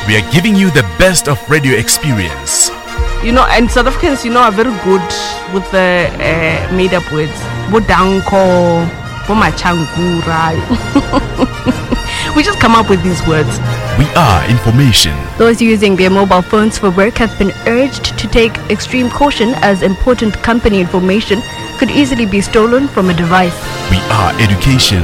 We are giving you the best of radio experience. You know, and South Africans, you know, are very good with the uh, made up words. Bodanko, Bomachankura. we just come up with these words. We are information. Those using their mobile phones for work have been urged to take extreme caution as important company information could easily be stolen from a device. We are education.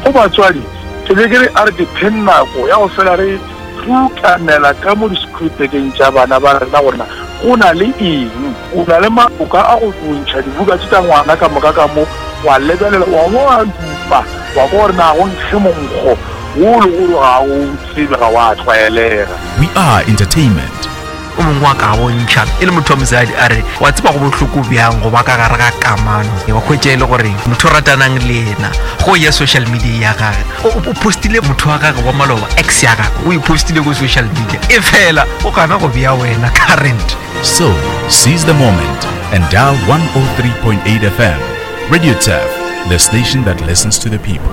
Go batswadi, ke be ke re a re dipheng nako ya go fela re rukanela ka mo di-screwpekeng tša bana ba rena gore na go na le eng. O na le maboka a go ntšha dibuka tše tša ngwana ka moka ka mo, wa lebelela, wa bo wa dupa, wa kwa gore na go nkge monkgo wo le gore ga o tsebe, ga wa tlwaelega. We are entertainment. O mongwe wa ka bontšha e le motho wa mosadi a re wa tseba go bohloko bjang go ba ka gare ga kamano wa hwetša e le gore motho o ratanang le yena go ya social media ya gage o postile motho wa gage wa maloba ex ya gage o e postile ko social media e fela o gana go bea wena current. So, seize the moment and dial 103.8 FM. Radio Turf, the station that listens to the people.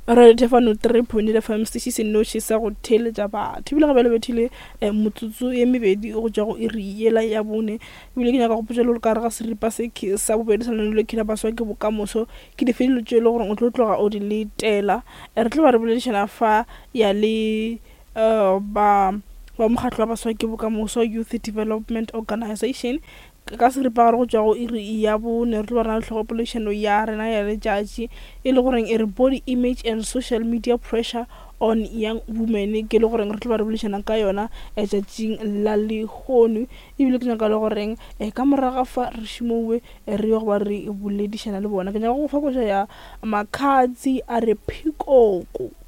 Radio Thefano 3.8 FM sešhi se noši sa go theeletša batho ebile gape le bethile eh, motsotso ye mebedi go tšwa go iri yela ya bone ebile ke nyaka go potša le gore ka gare ga seripa se sa bobedi sa lenaneo le khila baswa ke bokamoso ke dife dilo tše e le gore o tlo tloga o di letela eh, re tlo ba re boledišana fa ya le uh, ba ba mokgatlo wa baswa ke bokamoso Youth Development Organization Ka seripagare go tšwa go iri ya bone re tlo ba re na le tlhogopoledišano ya rena ya letšatši e le goreng e re Body Image and Social Media Pressure on Young Women ke le goreng re tlo ba re boledišana ka yona letšatšing la lehono ebile ke nyaka le goreng eh, ka moraga fa re šimowe eh, re yo go ba re boledišana le bona ke nyaka go fa koša ya Makhadzi a re phikoko.